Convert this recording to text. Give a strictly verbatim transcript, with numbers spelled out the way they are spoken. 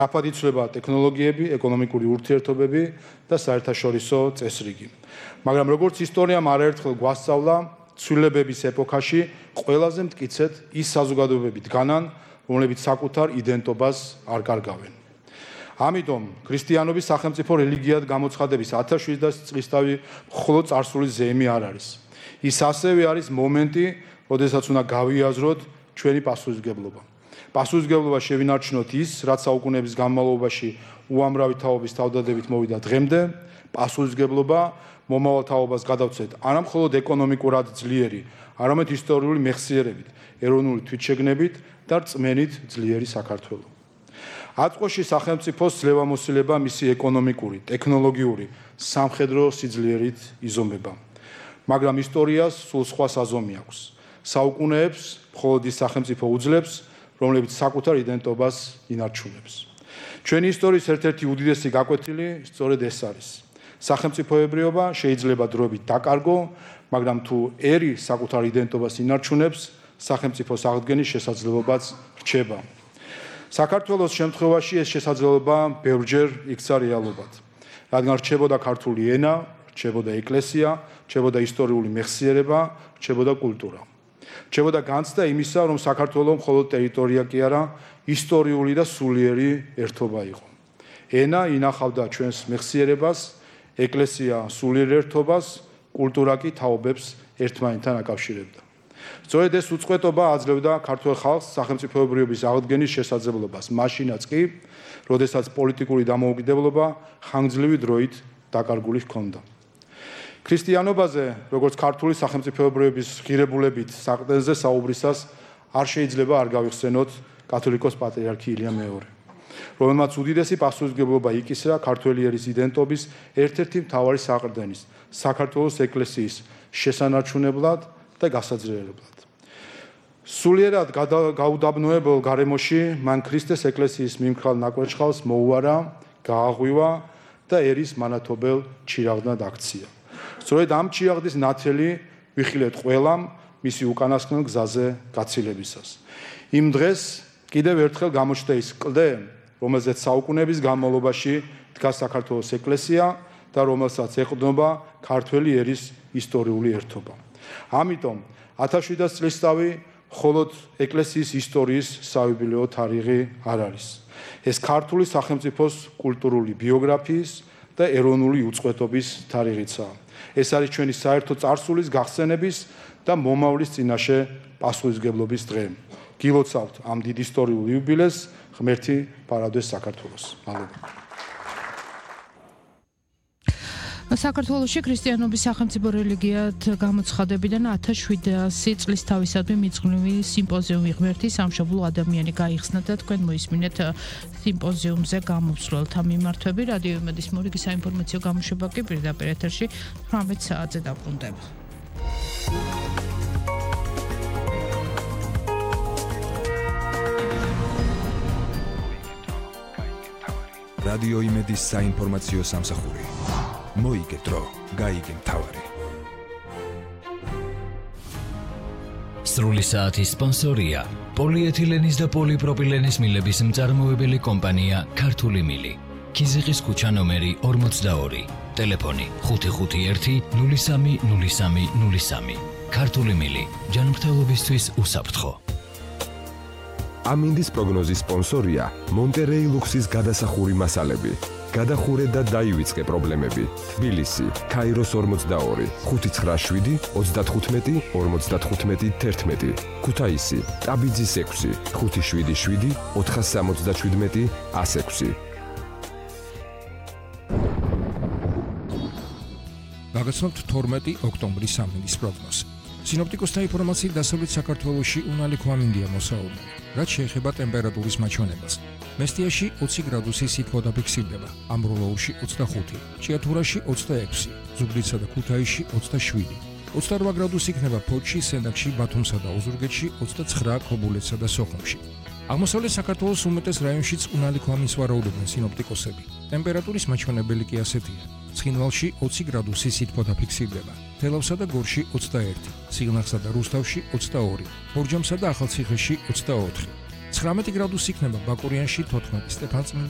სწრაფად იცვლება ტექნოლოგიები, ეკონომიკური ურთიერთობები და საერთაშორისო წესრიგი. მაგრამ როგორც ისტორიამ არაერთხელ გვასწავლა, ცვლილებების ეპოქაში ყველაზე მტკიცედ ის საზოგადოებები დგანან, რომლებიც საკუთარ იდენტობას არ კარგავენ. ამიტომ ქრისტიანობის სახელმწიფო რელიგიად გამოცხადების ათას შვიდას წლისთავი მხოლოდ წარსულის ზეიმი არ არის. ის ასევე არის მომენტი, როდესაც უნდა გავიაზროთ ჩვენი პასუხისმგებლობა. პასუხისმგებლობა შევინარჩუნოთ ის, რაც საუკუნეების განმავლობაში უამრავი თაობის თავდადებით მოვიდა დღემდე, პასუხისმგებლობა მომავალ თაობას გადავცეთ არა მხოლოდ ეკონომიკურად ძლიერი, არამედ ისტორიული მეხსიერებით, ეროვნული თვითშეგნებით და რწმენით ძლიერი საქართველო. აწყვოში სახელმწიფოს ძლევამოსილება მისი ეკონომიკური, ტექნოლოგიური, სამხედრო სიძლიერით იზომება. მაგრამ ისტორიას სულ სხვა საზომი აქვს. საუკუნეებს მხოლოდ ის სახელმწიფო უძლებს, რომლებიც საკუთარ იდენტობას ინარჩუნებს. ჩვენი ისტორიის ერთ-ერთი უდიდესი გაკვეთილი სწორედ ეს არის. სახელმწიფოებრიობა შეიძლება დროებით დაკარგო, მაგრამ თუ ერი საკუთარ იდენტობას ინარჩუნებს, სახელმწიფოს აღდგენის შესაძლებლობაც რჩება. საქართველოს შემთხვევაში ეს შესაძლებლობა ბევრჯერ იქცა რეალობად. რადგან რჩებოდა ქართული ენა, რჩებოდა ეკლესია, რჩებოდა ისტორიული მეხსიერება, რჩებოდა კულტურა. რჩებოდა განცდა იმისა, რომ საქართველო მხოლოდ ტერიტორია კი არა, ისტორიული და სულიერი ერთობა იყო. ენა ინახავდა ჩვენს მეხსიერებას, ეკლესია სულიერ ერთობას, კულტურა კი თაობებს ერთმანეთთან აკავშირებდა. სწორედ ეს უწყვეტობა აძლევდა ქართველ ხალხს სახელმწიფოებრიობის აღდგენის შესაძლებლობას, მაშინაც კი, როდესაც პოლიტიკური დამოუკიდებლობა ხანგრძლივი დროით დაკარგული ჰქონდა. ქრისტიანობაზე, როგორც ქართული სახელმწიფოებრიობის ღირებულებით საყრდენზე საუბრისას არ შეიძლება არ გავიხსენოთ კათოლიკოს პატრიარქი ილია მეორე, რომელმაც უდიდესი პასუხისმგებლობა იკისრა ქართველი ერის იდენტობის ერთ-ერთი მთავარი საყრდენის, საქართველოს ეკლესიის შესანარჩუნებლად და გასაძლიერებლად. სულიერად გაუდაბნოებელ გარემოში მან ქრისტეს ეკლესიის მიმქრალ ნაკვერჩხალს მოუარა, გააღვივა და ერის მანათობელ ჩირაღდნად აქცია. სწორედ ამ ჩირაღდის ნათელი ვიხილეთ ყველამ მისი უკანასკნელ გზაზე გაცილებისას. იმ დღეს კიდევ ერთხელ გამოჩნდა ის კლდე, რომელზეც საუკუნეების განმავლობაში დგას საქართველოს ეკლესია და რომელსაც ეყრდნობა ქართველი ერის ისტორიული ერთობა. ამიტომ ათას შვიდას წლისთავი მხოლოდ ეკლესიის ისტორიის საიუბილეო თარიღი არ არის. ეს ქართული სახელმწიფოს კულტურული ბიოგრაფიის და ეროვნული უწყვეტობის თარიღიცაა. ეს არის ჩვენი საერთო წარსულის გახსენების და მომავლის წინაშე პასუხისმგებლობის დღე. გილოცავთ ამ დიდ ისტორიულ იუბილეს, ღმერთი პარადოს საქართველოს. მადლობა. საქართველოში ქრისტიანობის სახელმწიფო რელიგიად გამოცხადებიდან ათას შვიდასი წლის თავისადმი მიძღვნილი სიმპოზიუმი ღმერთი სამშობლო ადამიანი გაიხსნა და თქვენ მოისმინეთ სიმპოზიუმზე გამოსვლელთა მიმართვები. რადიო იმედის მორიგი საინფორმაციო გამოშვება კი პირდაპირ ეთერში თვრამეტ საათზე დაბრუნდება. რადიო იმედის საინფორმაციო სამსახური. მოიგე დრო, გაიგე მთავარი. სრული საათის სპონსორია პოლიეთილენის და პოლიპროპილენის მილების მწარმოებელი კომპანია ქართული მილი. ქიზიყის ქუჩა ნომერი ორმოცდაორი. ტელეფონი ხუთი ხუთი ერთი ნული სამი ნული სამი ნული სამი. ქართული მილი ჯანმრთელობისთვის უსაფრთხო. ამინდის პროგნოზის სპონსორია მონტერეი ლუქსის გადასახური მასალები. გადახურე და დაივიწყე პრობლემები. თბილისი, ქაიროს ორმოცდაორი, ხუთი ცხრა შვიდი ოცდათხუთმეტი ორმოცდათხუთმეტი თერთმეტი. ქუთაისი, ტაბიძის ექვსი, ხუთი შვიდი შვიდი ოთხას სამოცდაშვიდმეტი ას ექვსი. გაგაცნობთ თორმეტი ოქტომბრის ამინდის პროგნოზი. სინოპტიკოსთა ინფორმაციით დასავლეთ საქართველოში უნალიქო ამინდია მოსაუბნე, რაც შეეხება ტემპერატურის მაჩვენებას. მესტიაში ოცი გრადუსი სითბო დაფიქსირდება, ამბროლოურში ოცდახუთი, ჭიათურაში ოცდაექვსი, ზუგდიდსა და ქუთაისში ოცდაშვიდი, ოცდარვა გრადუსი იქნება ფოთში, სენაკში, ბათუმსა და ოზურგეთში, ოცდაცხრა ქობულეთსა და სოხუმში. აღმოსავლეთ საქართველოს უმეტეს რაიონშიც უნალიქო ამინს ვარაუდობენ სინოპტიკოსები. ტემპერატურის მაჩვენებელი კი ასეთია. ცხინვალში ოცი გრადუსი სითბო დაფიქსირდება, თელავსა და გორში ოცდაერთი, სიღნაღსა და რუსთავში ოცდაორი, ბორჯომსა და ახალციხეში ოცდაოთხი. ცხრამეტი გრადუსი იქნება ბაკურიანში, თოთხმეტი, სტეფანწმინდა,